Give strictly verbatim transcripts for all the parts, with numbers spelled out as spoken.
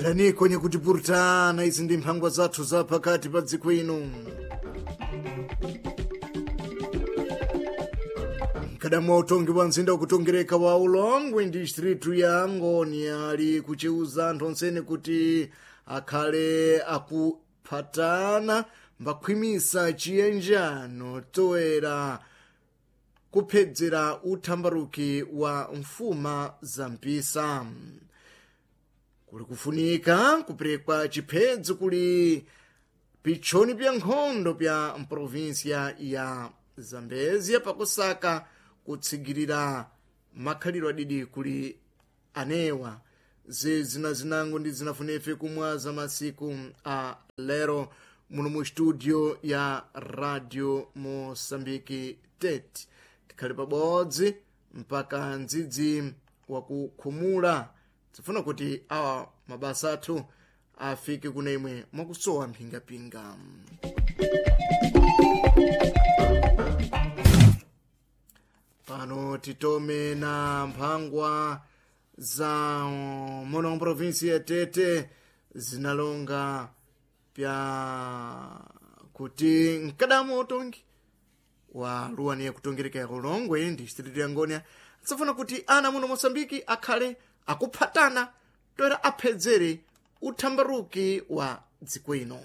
Khalani kwenye kutipurutana, izi ndi mphangwa zathu za pakati pa dziko ino. Mkadamu wa utongi wa mzinda wakutongereka wa Ulongwe ndi distritu ya Angoni ali kuchiuza anthu onsene kuti akhale akuphatana mbakhwimisa chiyenjano toera kuphedzera uthambaruki wa mfuma za mpisa. Kuli kufunika kuperekwa chiphedzo kuli pitchoni pya nkhondo pya mprovinsia ya Zambezia pakusaka kutsigirira makhalidwe adidi kuli anewa. Zina zinango ndi zinafunefe kumwaza masiku a lero muno mu studio ya Radio Mosambiki Tete. Tikhale pabodzi mpaka ndzidzi wakukhumula. Tifuna kuti awa mabasa athu afike kuna imwe mwakusowa mphingapinga. Pano titome na mphangwa za muno mprovinsi ya Tete zinalonga pya kuti mkadamu utongi wa luwani yakutongereka ya Ulongwe ndi distritu ya Ngonia tsafuna kuti ana muno Mosambiki akhale akuphatana toera aphedzere uthambaruki wa dziko ino.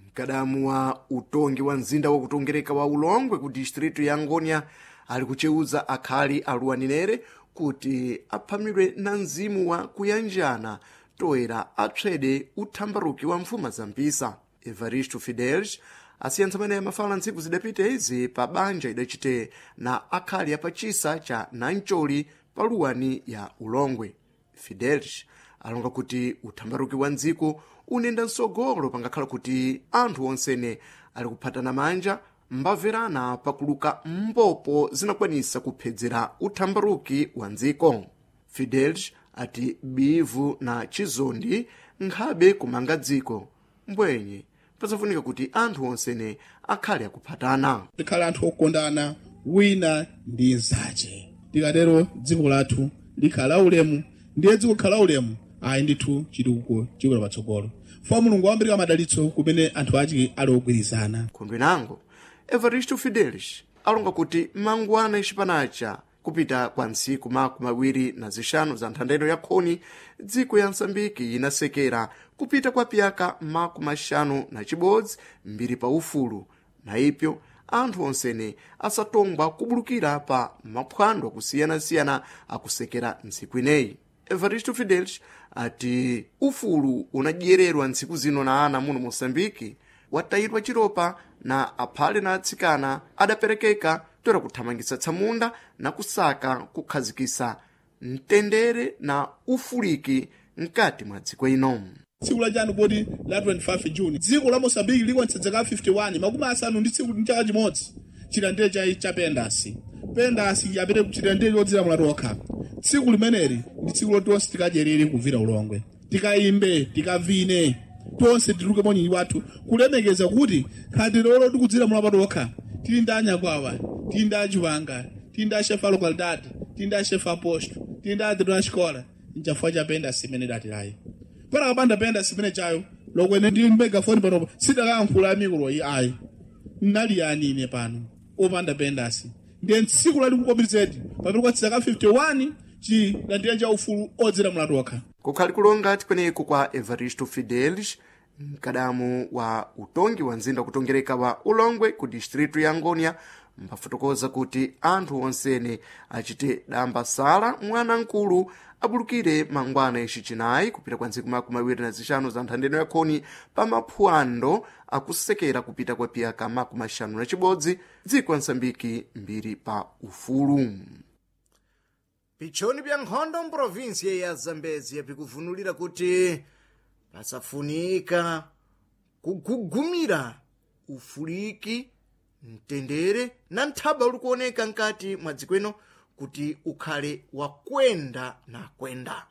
Mkadamu wa utongi wa mzinda wakutongereka wa Ulongwe ku distritu ya Ngonia ali kucheuza akhali aluwaninere kuti aphamidwe na mzimu wa kuyanjana toera apswede uthambaruki wa mfuma za mpisa. Evaristo Fidelis asiyantsa maneya mafala ntsiku zidapita izi pa banja idachite na akhali apachisa cha Nancholi pa luwani ya Ulongwe. Fidelis alonga kuti uthambaruki wa ndziko unenda msogolo pangakhala kuti anthu onsene ali kuphatana manja mbamverana pakuluka mbopo zinakwanisa kuphedzera uthambaruki wa ndziko. Fidelis ati bivu na chizondi nkhabe kumanga dziko mbwenye pasafunika kuti anthu onsene akhale akuphatana. Tikhale anthu okondana wina ndi nzache, tikatero dziko lathu likhala ulemu, ndiye dziko likhala ulemu ayi ndithu chitukuko chikula patsogolo. Fo Mulungu wambirika madalitso kumene anthu achi ali ogwirizana. Khondwe nango Evaristo Fidelis alonga kuti mangwana ixipanacha kupita kwa ntsiku makumi awiri na zixanu za nthandeno ya khoni dziko ya Msambiki inasekera kupita kwa piyaka makumi axanu na chibodzi mbiri pa ufulu, na ipyo anthu onsene asatongwa kubulukira pa maphwando akusiyana-siyana akusekera ntsiku ineyi. Evaristo Fidelis ati ufulu unadyererwa ntsiku zino na ana muno Mosambiki watayidwa chiropa na aphale na atsikana adaperekeka toera kuthamangisa tsamunda na kusaka kukhazikisa mtendere na ufuliki mkati mwa dziko ino. Tsiku lachanu poti la twenty-five June dziko la Mosambiki likwanitsa zaka fifty-one makumi asanu ndi tsiku ndi chaka chimodzi chilandire cha cha Pendasi. Pendasi apite chilandire chodzilamula tokha. Tsiku limeneli ndi tsiku loti tonse tikadyerere kuvira Ulongwe, tikayimbe, tikavine, tonse tituluke monyinyi wathu kulemekeza kuti khati lolo tikudzilamula patokha. Tili ndi anyakwawa, tili ndi achiwanga, tili ndi ashefa localidade, tili ndi ashefa aposto, tili ndi adro a xikola, nchafua cha Pendasi imene datilayi. Pana kapanda Pendasi imene chayo lokwene ndi megafoni panopo sidakayankhula amikuloyi ayi nnali yani ine pano opanda Pendasi. Ndiye tsiku lalikukopirizedi pamene kwa zaka fifty-one chilandira cha ufulu odzilamula tokha. Kukhali kulonga tikweneko kwa Evaristo Fidelis mkadamu wa utongi wa mzinda wakutongereka wa Ulongwe ku distritu ya Ngonia mbafotokoza kuti anthu onsene achite damba sala mwanamkulu abulukire mangwana ixi chinayi kupita kwa ntsiku makumi awiri na zixanu za nthandeno ya khoni pa maphwando akusekera kupita kwa piyaka makumi axanu na chibodzi dziko la Msambiki mbiri pa ufulu. Pitchoni pya nkhondo mprovinsia ya Zambezia pikuvunulira kuti pasafunika kugugumira ufuliki mtendere na nthaba uli kuoneka mkati mwa dziko ino kuti ukhale wakwenda na kwenda.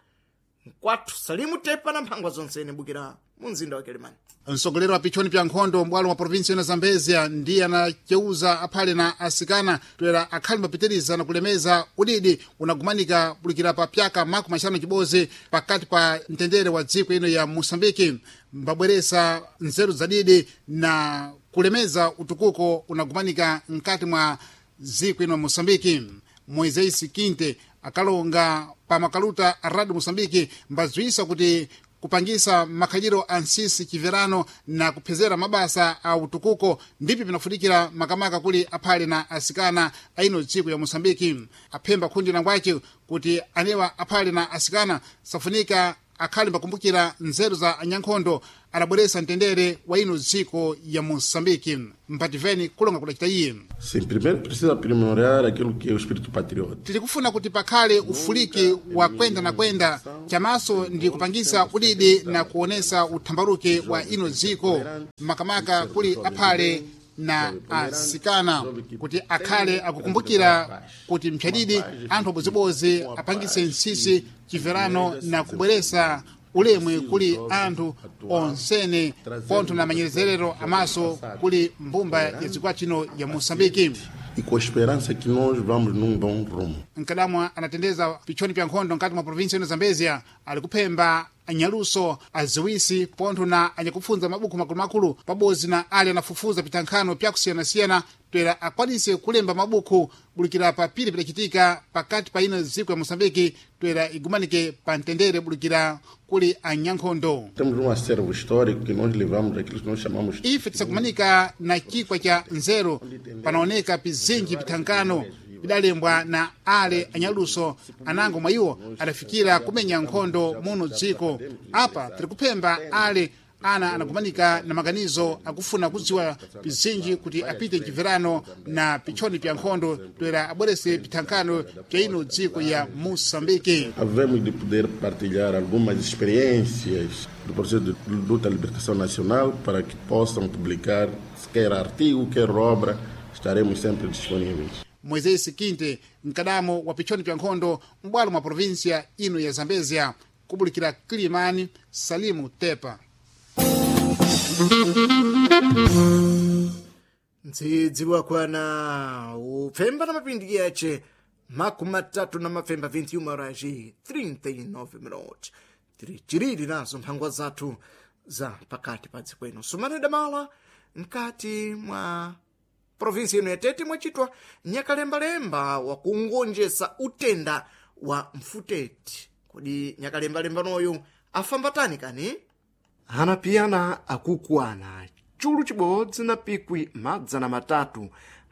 Mkwathu Salimu Tepa na mphangwa zonsene bukira mu mzinda wa Kelemani. Mtsogoleri wa pichoni pya nkhondo m'bwalo mwa provinsi ino Zambezia ndiye anaceuza aphale na asikana toera akhali mbapitiriza na kulemeza udidi unagumanika bulikira pa pyaka makumi axanu chibodzi pakati pa mtendere wa dziko ino ya Moçambike, mbabweresa nzeru zadidi na kulemeza utukuko unagumanika mkati mwa dziko ino ya Moçambike. Moisés Quinte akalonga pa makaluta a Radio Moçambike mbadziwisa kuti kupangisa makhaliro a nsisi chiverano na kuphezera mabasa a utukuko ndipi pinafunikira makamaka kuli aphale na asikana aino dziko ya Moçambike. Aphemba khundi langwace kuti anewa aphale na asikana safunika akhale mbakumbukira nzeru za anyankhondo adabweresa mtendere wa ino dziko ya Moçambike. Mpativeni kulonga kudacita iye. Sim, primeiro precisa aprimorar aquilo que é o espírito patriota. Tilikufuna kuti pakhale ufuliki wa kwenda na kwenda chamaso ndi kupangisa udidi na kuonesa uthambaruke wa ino dziko makamaka kuli aphale na asikana kuti akhale akukumbukira kuti mphyadidi anthu abozibozi apangise nsisi chimverano na kubweresa ulemwe kuli anthu onsene pontho na manyerezerero amaso kuli mbumba ya dziko chino ya Moçambike. E com a esperança que nós vamos num bom rumo. Nkadamwa anatendeza pichoni pya nkhondo nkati mwa provinsi ino Zambezia ali kuphemba anyaluso aziwisi pontho na anyakupfunza mabuku makulumakulu pabodzi na ali anafufuza pitankhano pyakusiyanasiyana toera akwanise kulemba mabuku bulikira pa pili pidacitika pakati pa ino dziko ya Moçambike toera igumanike pa mtendere bulikira kuli anyankhondo. Temos um acervo histórico que nós levamos aquilo que nós chamamos Ife tisakumanika na chikwa cha nzeru panaoneka pizinji pithankano pidalembwa na ale anyaluso anango mwa iwo adafikira kumenya nkhondo muno dziko. Apa tiri kuphemba ale ana anagumanika na maganizo akufuna kudziwa pizinji kuti apite mchimverano na pichoni pya nkhondo toera abwerese pithankano pya ino dziko ya Moçambike. Havemos de poder partilhar algumas experiências do processo de luta à libertação nacional para que possam publicar quer artigo, quer obra, estaremos sempre disponíveis. Moisés Quinte, mkadamo wa pichoni pya nkhondo m'bwalo mwa provinsia ino ya Zambezia, kubulikira Kilimani, Salimu Tepa. Ndzidzi wakwana upfemba na mapindi yace makumi matatu na mapfemba vinte e uma horas e trinta e nove minutos. Tiri chiriri nazo mphangwa zathu za pakati pa dziko ino sumane damala mkati mwa provinsi ino ya Tete mwachitwa nyakalembalemba wakungonjesa utenda wa mfuteti. Kodi nyakalembalemba noyu afamba tani kani? Anapiyana akukwana chulu chibodzi na pikwi madzana matatu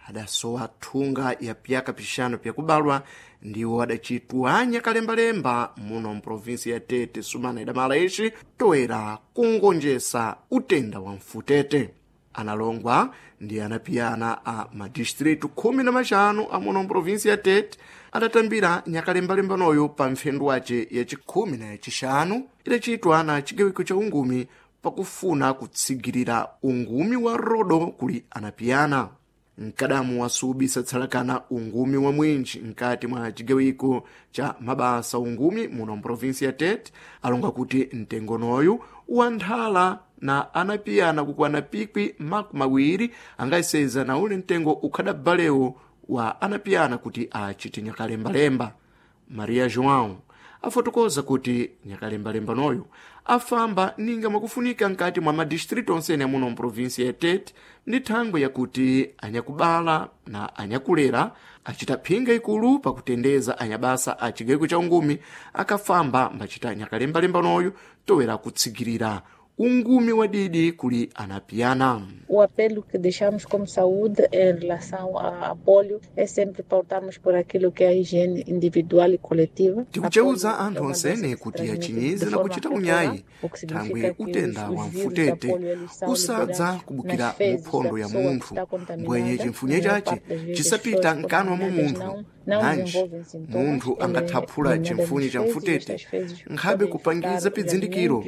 adasowa thunga ya pyaka pixanu pyakubalwa ndiwo adacitwa nyakalembalemba muno mprovinsi ya Tete sumana idamala ixi toera kungonjesa utenda wa mfutete. Analongwa ndi anapiyana a madistritu khumi na maxanu amuno mprovinsi ya Tete adatambira nyakalembalemba noyo pa mphendu wace yacikhumi na yacixanu idacitwa na cigawiko ca ungumi pakufuna kutsigirira ungumi wa rodo kuli anapiyana. Mkadamu wasubisa tsalakana ungumi wa mwinji mkati mwa cigawiko ca mabasa ungumi muno mprovinsi ya Tete alonga kuti mtengonoyu wanthala na anapiyana kukwana pikwi makumi awiri angayiseza na ule mtengo ukhadabalewo wa anapiyana kuti achite nyakalembalemba. Maria João afotokoza kuti nyakalembalemba noyo afamba ninga mwakufunika nkati mwa madistritu onsene amuno mprovinsi ya Tete ndi thangwe yakuti anyakubala na anyakulera acita phinga ikulu pakutendeza anyabasa a cigawiko ca ungumi akafamba mbacita nyakalembalemba noyo toera kutsigirira ungumi wa didi kuli anapiyana. O apelo que deixamos como saúde em relação à polio é sempre pautarmos por aquilo que é a higiene individual e coletiva. Tikuceuza anthu onsene kuti achinyize na kuchita unyayi thangwe utenda wa mfutete usadza kubukira muphondo ya munthu mbwenye chimfunye chace chisapita mkanwa mwa munthu nanji munthu angathaphula chimfunye cha mfutete nkhabe kupangiza pidzindikiro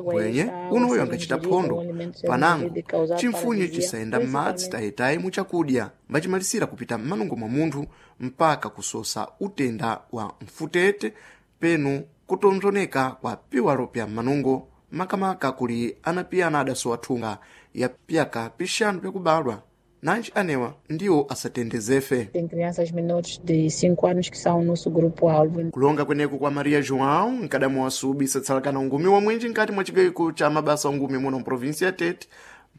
mbwenye unoyo angachita phondo panango chimfunye chisayenda m'madzi tayitayi muchakudya mbachimalisira kupita m'manungo mwa munthu mpaka kusosa utenda wa mfutete penu kutonzoneka kwa piwalo pya manungo makamaka kuli anapiyana adasowa thunga ya pyaka pixanu pyakubalwa nanji anewa ndiwo asatendezefe. Tem crianças menores de cinco anos que são o nosso grupo-alvo. Kulonga kweneku kwa Maria João nkadamu wa subi satsalakana ungumi wa mwinji nkati mwa chigayiko cha mabasa ungumi muno mprovinsi ya Tete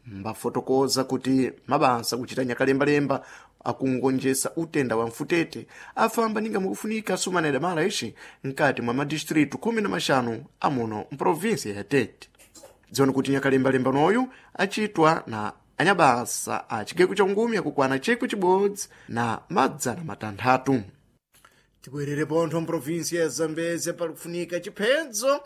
mbafotokoza kuti mabasa kuchita nyakalembalemba akungonjesa utenda wa mfutete afamba ninga mukufunika sumaneda mala ixi nkati mwa madistritu khumi na maxanu amuno mprovinsi ya Tete. Dziwani kuti nyakalembalemba noyu acitwa na anyabasa a chigayiko cha ungumi akukwana chikwi chibodzi na madzana matanthatu. Tibwerere pontho mprovinsi ya Zambezia palikufunika chiphedzo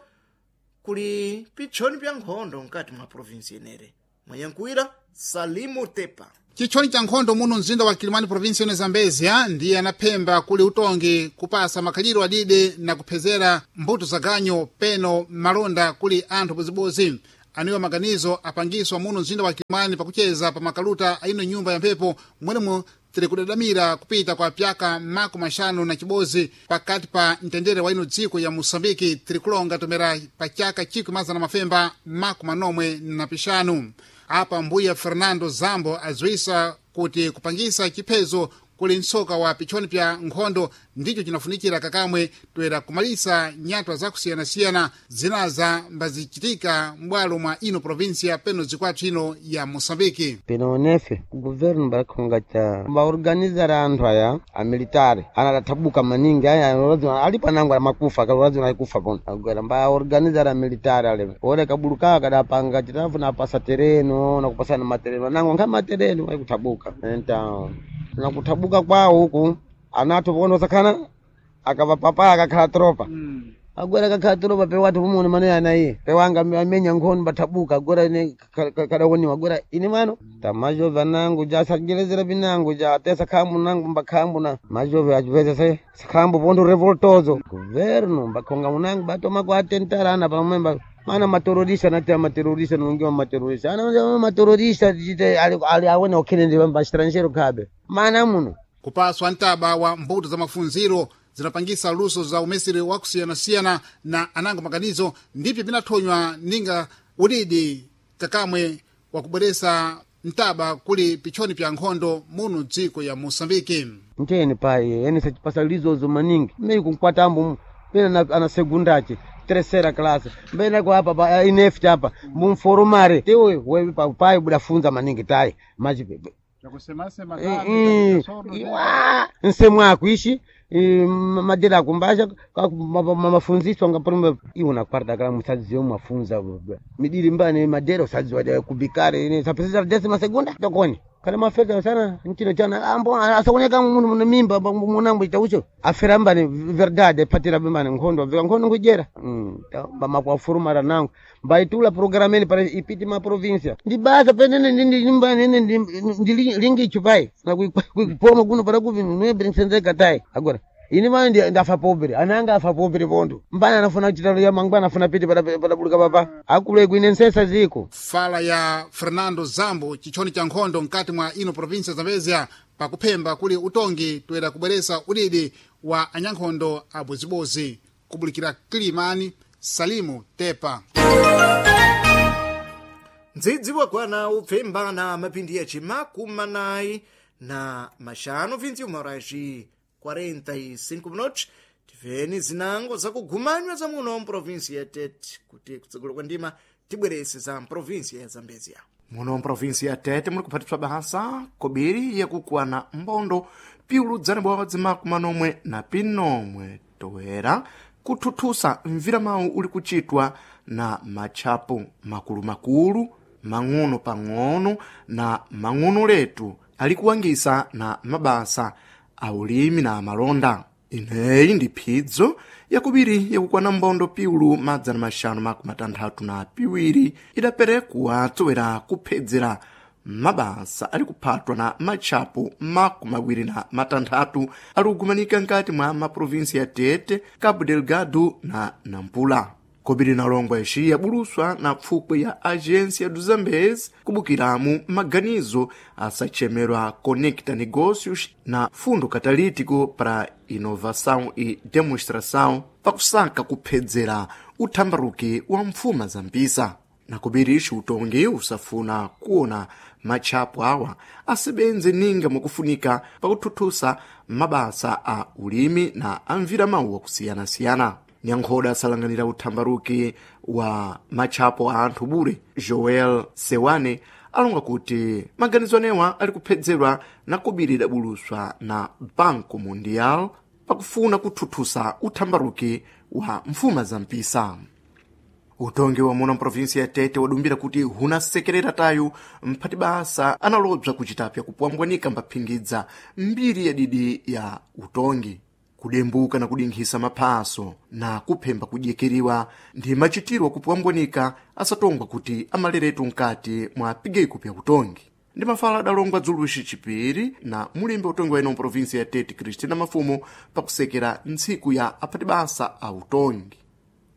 kuli pitchoni pya nkhondo mkati mwa provinsi inere. Mwanyankuwira Salimu Tepa. Chitchoni cha nkhondo muno mzinda wa Kilimani provinsi yone Zambezia ndiye anaphemba kuli utongi kupasa makhaliro adide na kuphezera mbuto za ganyo peno malonda kuli anthu bozibozi. Aniwa maganizo apangiswa muno mzinda wa Kilimani pakucheza pa makaluta aino nyumba ya mphepo mwenemo tiri kudadamira kupita kwa pyaka mako maxanu na chibozi pakati pa mtendere wa ino dziko ya Moçambique tiri kulonga tomera pa chaka chikwi mazana mafemba mako manomwe na pixanu. Apa mbuya Fernando Zambo adziwisa kuti kupangisa chiphezo kuli mtsoka wa pitchoni pya nkhondo ndicho chinafunikira kakamwe toera kumalisa nyatwa zakusiyanasiyana zinaza mbazichitika m'bwalo mwa ino provinsia peno zikwathu ino ya Moçambique. Peno nefe governo bakhonga cha baorganizara anthu aya amilitari ana adathabuka maningi aya alazima ali panango amakufa kalazima alikufa pono agwera mbaorganizara militari ale ore kabuluka kadapanga chitafu napasa tereno nakupasana matereno anango nkha matereno aikuthabuka enta nakuthabuka kwawo huku anathu pono sakhana akavapapaya akakhala tropa mm. Agora akakhala tropa pe watu pumone mane ana iye pe wanga amenya nkhono bathabuka agora ine kadakoniwa agora ine mano tamajove anangu ja sajelezera pinangu ja te sakhambu nangu mbakhambu na majove achipeza se sakhambu pondo revoltozo governo mbakhonga munangu batoma kwa atentarana pamwemba mana materorista nati amaterorista nongiwa materorista ana materorista jite ali ali awone okhene ndi ba estrangeiro khabe mana muno kupaswa mtaba wa mbuto za mafunziro zinapangisa luso za umesiri wakusiyanasiyana na anango maganizo ndipyo pinathonywa ninga udidi kakamwe wakubweresa mtaba kuli pitchoni pya nkhondo muno dziko ya Moçambique. Ntene pai ene sachipasa lizozo maningi mei kunkwatambo pena ana segundache terceira classe mbena kwa apa pa ineft apa mumforomare tewe wewe pa pai budafunza maningi tai maji iwa nsemu ako ishi madera akumbasha mafunziswa ngapalume iwo nakparta kala musadziwe mwafunza midiri mbane madera usadziwa kubikare ine sapesesa décima segunda tokoni kana mafeta sana nchino chana ambo asaoneka munhu mune mimba munambo chaucho afera mbane verdade patira mbane nkhondo veka nkhondo nkujera mm mbamakwafurumara nangu mbaitula programeni para ipiti ma provincia ndi basa penene ndi mbane ndi ndi lingichu pai na kuipoma kuno para kuvi nwebri nsenzeka tai agora ini mane ndi ndafa pobre ananga afa pobre pondo mbana anafuna chitalo ya mangwana anafuna piti para para buluka papa akule kuine nsesa ziko fala ya Fernando Zambo chichoni cha nkhondo mkati mwa ino provinsia Zambezia pakuphemba kuli utongi toera kubweresa udidi wa anyankhondo abozibozi kubulikira Kilimani. Salimu Tepa. Ndzidzi wakwana upfembana mapindi yaci makumi anayi na maxanu vinte e uma horas e quarenta e cinco minutos. Tiveni zinango zakugumanywa za muno mprovinsi ya Tete kuti kutsogolo kwa ndima tibwerese za mprovinsi ya Zambezia. Muno mprovinsi ya Tete muli kuphatipsa basa kobiri yakukwana mbondo piuludzana bodzi makumi manomwe na pinomwe toera kuthuthusa mviramawu uli kuchitwa na matchapo makulumakulu mang'ono pang'ono na mang'ono letu ali kuwangisa na mabasa aulimi na amalonda. Ineyi ndi phidzo yakubiri yakukwana mbondo piulu madzana maxanu makumi matanthatu na piwiri idaperekwa tsowera kuphedzera mabasa ali kuphatwa na matchapo makumi awiri na matanthatu ali kugumanika nkati mwa maprovinsi ya Tete, Cabo Delgado na Nampula. Kobiri nalongwa ixi yabuluswa na pfukwe ya Agência do Zambeze kubukiramu maganizo asachemerwa Conecta Negócios na Fundo Catalítico para Inovação e Demonstração pakusaka kuphedzera uthambaruki wa mfuma za mpisa. Nakubiri ixi utongi usafuna kuona matchapo awa asebenze ninga mwakufunika pakuthuthusa mabasa a ulimi na amvira mawu akusiyana-siyana. Nyankhoda asalanganira uthambaruki wa matchapo a anthu bure Joel Sewane alonga kuti maganizo anewa ali kuphedzerwa na kobiri idabuluswa na Banco Mundial pakufuna kuthuthusa uthambaruki wa mfuma za mpisa. Utongi wa muno mprovinsi ya Tete wadumbira kuti hunasekerera tayu mphati basa analobza kuchitapya kupwambwanika mbaphingidza mbiri ya didi ya utongi, kudembuka na kudinkhisa maphaso na kuphemba kudyekeriwa ndi machitiro akupwambwanika asatongwa kuti amaleretu mkati mwa pigeiko pya utongi. Ndi mafala adalongwa dzuluxi chipiri na mulembe utongi wa ino mprovinsi ya Tete Cristina Mafumo pakusekera ntsiku ya aphati basa a utongi.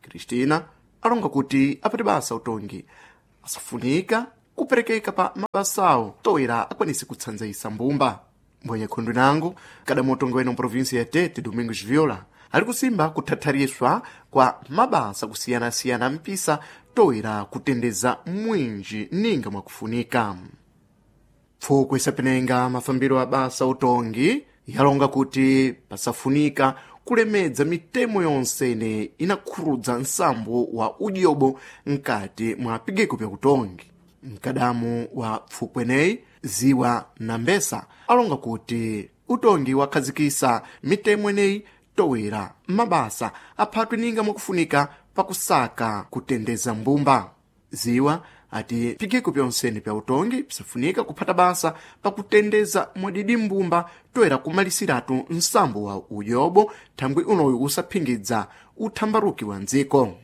Cristina alonga kuti aphati basa utongi asafunika kuperekeka pa mabasawo toera akwanise kutsanzaisa mbumba. Mbwenye khundu nango kadamu utongi wa ino mprovinsi ya Tete Domingos Viola ali kusimba kuthathariswa kwa mabasa kusiyanasiyana mpisa toera kutendeza mwinji ninga mwakufunika. Pfukwe isapenenga mafambiro a basa utongi yalonga kuti pasafunika kulemedza mitemo yonse ine inakhurudza nsambo wa udyobo mkati mwa pigeko pya utongi. Mkadamu wa pfukweneyi Ziwa na Mbesa alonga kuti utongi wakhazikisa mitemo ineyi towera mabasa aphatwe ninga mwakufunika pakusaka kutendeza mbumba. Ziwa ati pigeko pyonsene pya utongi pisafunika kuphata basa pakutendeza mwadidi mbumba toera kumalisiratu nsambo wa udyobo thangwi unoyu usaphingidza uthambaruki wa ndziko.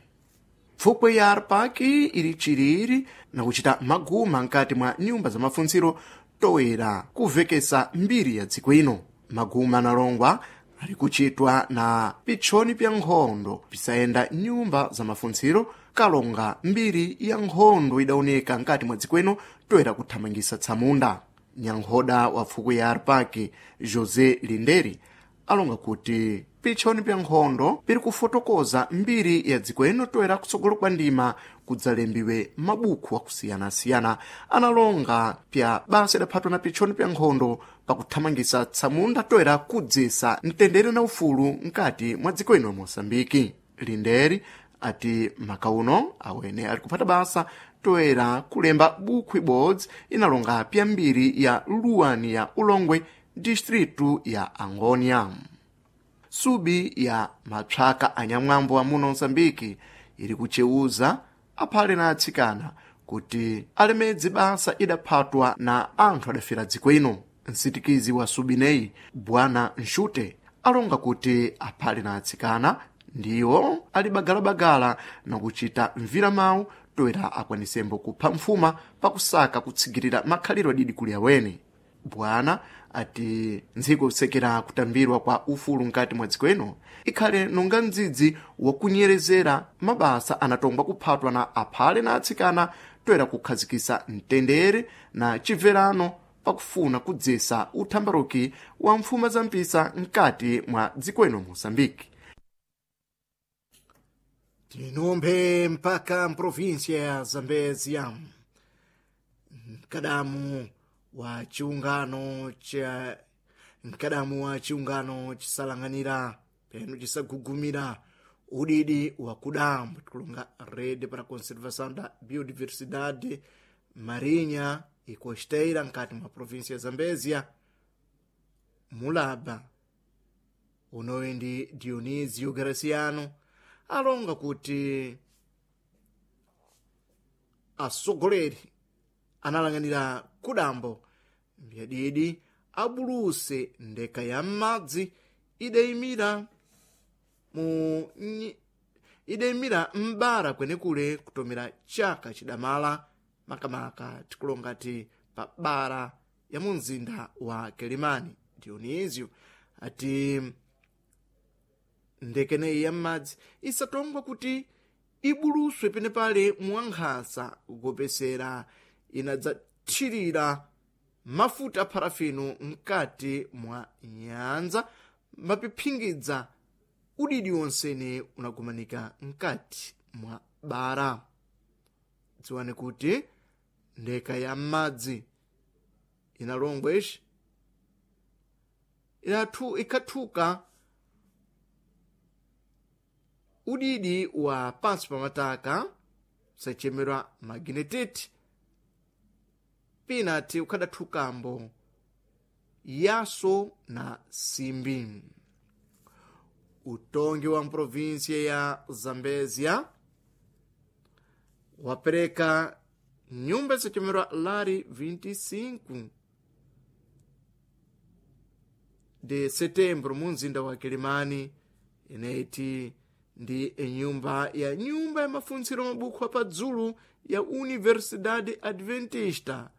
Pfukwe ya Arpaki ili chiriri na kuchita maguma nkati mwa nyumba za mafuntsiro toera kuvekesa mbiri ya dziko ino. Maguma analongwa ali kuchitwa na pitchoni pya nkhondo pisayenda nyumba za mafuntsiro kalonga mbiri ya nkhondo idaoneka nkati mwa dziko ino toera kuthamangisa tsamunda. Nyankhoda wa pfukwe ya Arpaki José Linderi alonga kuti pitchoni pya nkhondo piri kufotokoza mbiri ya dziko ino toera kutsogolo kwa ndima kudzalembiwe mabuku akusiyana-siyana analonga pya basa idaphatwa na pitchoni pya nkhondo pakuthamangisa tsamunda toera kudzesa mtendere na ufulu mkati mwa dziko ino Moçambike. Linderi ati makauno awene ali kuphata basa toera kulemba buku ibodzi inalonga pya mbiri ya luwani ya Ulongwe distritu ya Angônia. Subi ya mathyaka anyamwambo amuno Moçambike ili kuchewuza aphale na atsikana kuti alemedze basa idaphatwa na anthu adafera dziko ino. Msitikizi wa subineyi Bwana Nxute alonga kuti aphale na atsikana ndiwo ali bagalabagala na kuchita mviramawu toera akwanisembo kupha mfuma pakusaka kutsigirira makhaliro adidi kuli awene. Bwana ati ndziko kusekera kutambirwa kwa ufulu mkati mwa dziko ino ikhale nonga mdzidzi wakunyerezera mabasa anatongwa kuphatwa na aphale na atsikana toera kukhazikisa mtendere na chibverano pakufuna kudzesa uthambaruki wa mfuma za mpisa mkati mwa dziko ino Moçambike. Tinumphe mpaka mprovinsia ya Zambezia mkadamu wa chiungano cha mkadamu wa chiungano chisalang'anira peno chisagugumira udidi wa kudambo tikulonga Rede para Conservação da Biodiversidade Marinha e Costeira nkati mwa província ya Zambezia Mulaba unoyi ndi Dionisio Graciano alonga kuti atsogoleri analang'anira kudambo mbyadidi abuluse ndeka ya m'madzi idayimira mu nyi- idayimira m'bara kwenekule kutomera chaka chidamala makamaka tikulonga ti pa bara ya mu mzinda wa Kelimani. Dionisio ati ndekeneyi ya m'madzi isatongwa kuti ibuluswe penepale mwankhasa kupesera inadzathirira mafuta parafino mkati mwa nyanza mapiphingidza udidi wonsene unagumanika mkati mwa bara. Dziwani kuti ndeka ya madzi inalongwa ixi ilathu ikhathuka udidi wa pansi pamataka sachemerwa magnetite pinati ukhadathukambo yaso na simbi. Utongi wa mprovinsia ya Zambezia wapereka nyumba zachemerwa lari vinte e cinco de Setembro mu mzinda wa Kilimani, ineti ndi enyumba ya nyumba ya mafuntsiro mabukhu apadzulu ya Universidade Adventista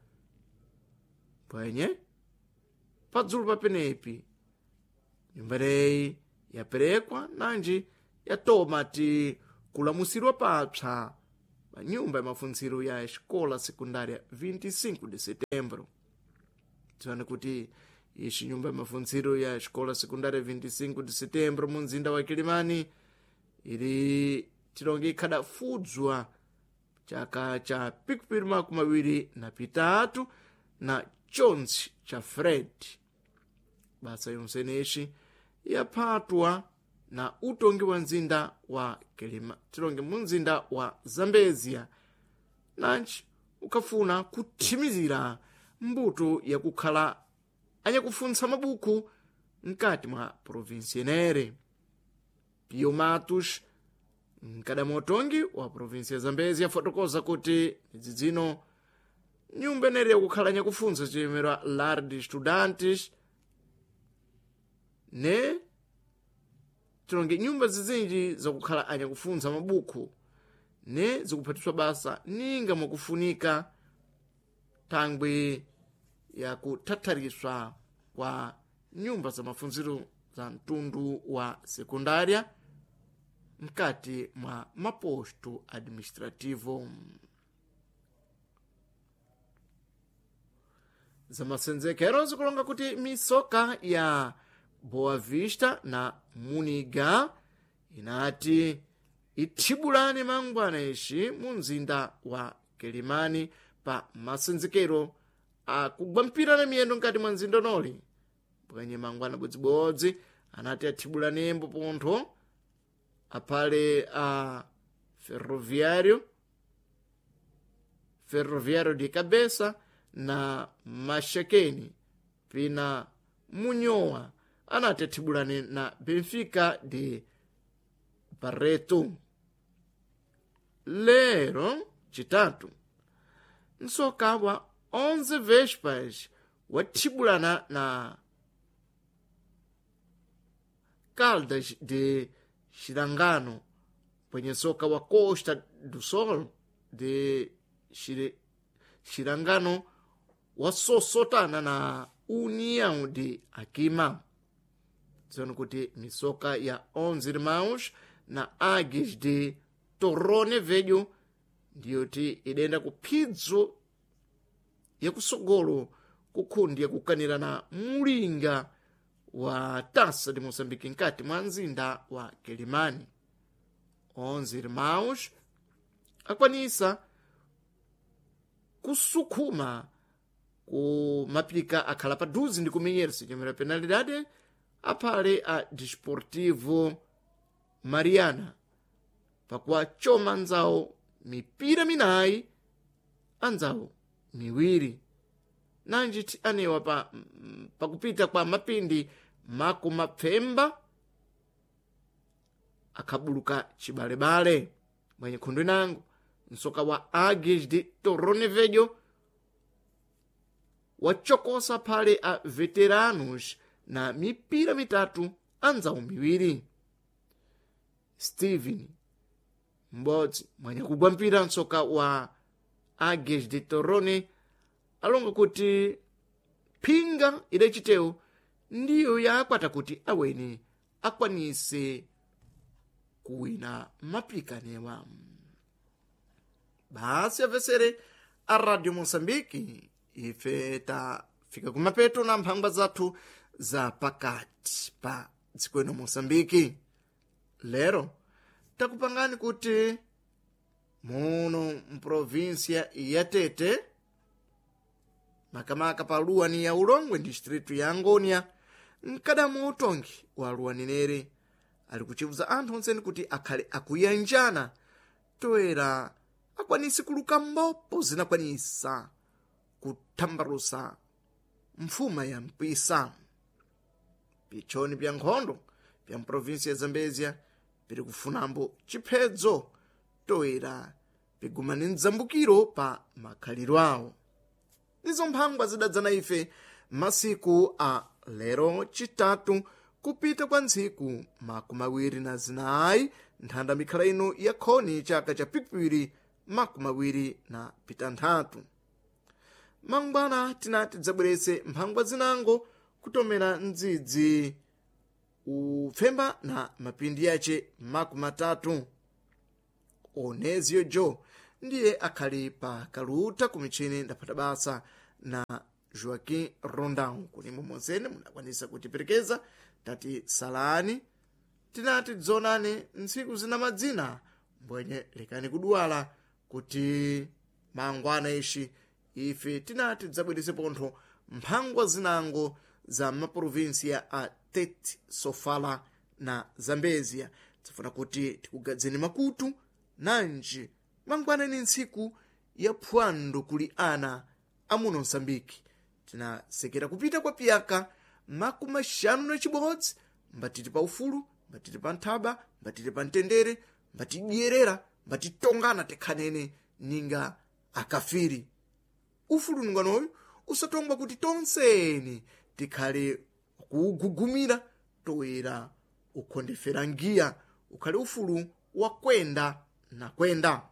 pwenye padzulu papenepi. Nyumba ineyi yaperekwa nanji yatoma ti kulamusirwa papsa pa nyumba ya mafuntsiro ya Escola Secundária vinte e cinco de Setembro. Tione kuti ixi nyumba ya mafuntsiro ya Escola Secundária vinte e cinco de Setembro mu mzinda wa Kilimani ili tilonge ikhadafudzwa chaka cha pikupiri makumi awiri na pitatu na chonse cha Fred. Basa yonseneshi yaphatwa na utongi wa mzinda wa Kilima, tilonge mu mzinda wa Zambezia, nanji ukafuna kuthimizira mbuto yakukhala anyakufuntsa mabuku mkati mwa provinsi inere. Pio Matos, mkadamo utongi wa provinsi ya Zambezia, afotokoza kuti midzidzino nyumba inere yakukhala nyakufuntsa chiyemerwa Lar de Estudantes ne tilonge nyumba zizinji zakukhala anyakufuntsa mabuku ne zikuphatiswa basa ninga mwakufunika thangwi yakuthathariswa kwa nyumba za mafunziro za mtundu wa sekundária mkati mwa maposto administrativo. Zamasenzekero zikulonga kuti misoka ya Boa Vista na Muniga inati ithibulane mangwana ixi mu mzinda wa Kilimani pa masenzekero akugwa mpira na miyendo mkati mwa mzinda unoli. Pwenye mangwana bodzibodzi anati athibulanembo pontho aphale a Ferroviário Ferroviário de Cabeça na Maxaquene, pina Munhoa anati athibulane na Benfica de Barreto. Lero chitatu, msoka wa onze Vespas wathibulana na Caldas de Xirangano, pwenye soka wa Costa do Sol de Xire, Xirangano wasosotana na União de Akima. Tsono kuti misoka ya onze Irmãos na Águias de Torrone Velho ndiyoti idenda ku phidzo yakusogolo kukhundi yakukanira na mulinga wa Taça de Moçambique nkati mwa mzinda wa Quelimane. Onze Irmãos akwanisa kusukhuma ku mapika akhala paduze ndi kumenyera sichemera penalidade aphale a Desportivo Mariana pakuwachoma anzawo mipira minayi anzawo miwiri, nanji ti anewa pa, pakupita kwa mapindi makumapfemba akhabuluka chibalebale. Mwenye khundu inango, msoka wa Águias de Torrone Velho wachokosa phale a Veteranos na mipira mitatu anzawo miwiri. Steven m'bodzi mwenye kugwa mpira msoka wa Águias de Torrone alonga kuti phinga idacitewo ndiyo yakwata kuti aweni akwanise kuwina mapikanewa. Basi avesere a Radio Moçambique, ife tafika kumapeto na mphangwa zathu za pakati pa dziko ino Moçambique. Lero takupangani kuti muno mprovinsia ya Tete, makamaka pa luwani ya Ulongwe distritu ya Angonia, mkadamu utongi wa luwaninere ali kuchivuza anthu onseni kuti akhale akuyanjana toera akwanise kuluka mbopo zinakwanisa kuthambalusa mfuma ya mpisa. Pichoni pya nkhondo pya mprovinsi ya Zambezia piri kufunambo chiphedzo toera pigumane mdzambukiro pa makhaliro awo. Ndizo mphangwa zidadzana ife masiku a lero chitatu kupita kwa ntsiku makumi awiri na zinayi nthanda mikhala ino ya khoni chaka cha pikwiri makumi awiri na pitanthatu. Mangwana tinati tidzabweretse mphangwa zinango kutomera mdzidzi upfemba na mapindi yace makumi atatu. Onezio Jo ndiye akhali pa kaluta ku michini ndaphata basa na Joaquim Rondão. Kunimo monsene munakwanisa kutiperekeza tati salani tinati dzonane ntsiku zina madzina mbwenye lekani kuduwala kuti mangwana ishi ife tinati tidzabweretse pontho mphangwa zinango za maprovinsia a Tete, Sofala na Zambezia. Tifuna kuti tikugadzeni makutu nanji mangwana ni ntsiku ya phwando kuli ana amuno Msambiki. Tinasekera kupita kwa piyaka makumi axanu na chibodzi mbatiti pa ufulu, mbatiti pa nthaba, mbatiti pa mtendere, mbatidyerera, mbatitongana tekhanene ninga akafiri. Ufulu nunganoyu usatongwa kuti tonseni tikhale kuugugumira toera ukhondefera ngiya ukhale ufulu wa kwenda na kwenda.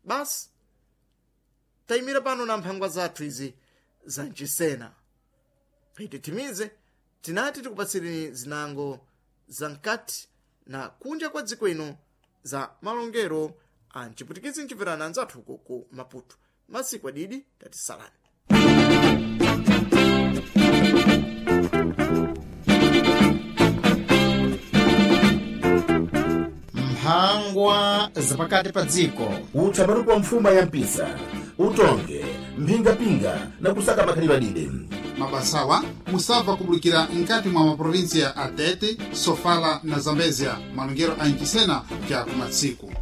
Basi tayimira pano na mphangwa zathu izi za mchisena. Titimize tinati tikupatsireni zinango za mkati na kunja kwa dziko ino za malongero a mchiputikizi mchimverana anzathu uko ku Maputo. Masiku adidi tatisalani. Mphangwa zapakati pa dziko. Utsambaruko wa mfuma ya mpisa, utonge mphingapinga na kusaka makhalidwe adide. Mabasawa musabva kubulikira nkati mwa maprovinsia a Tete, Sofala na Zambezia, malongero a mchisena pya kumatsiku.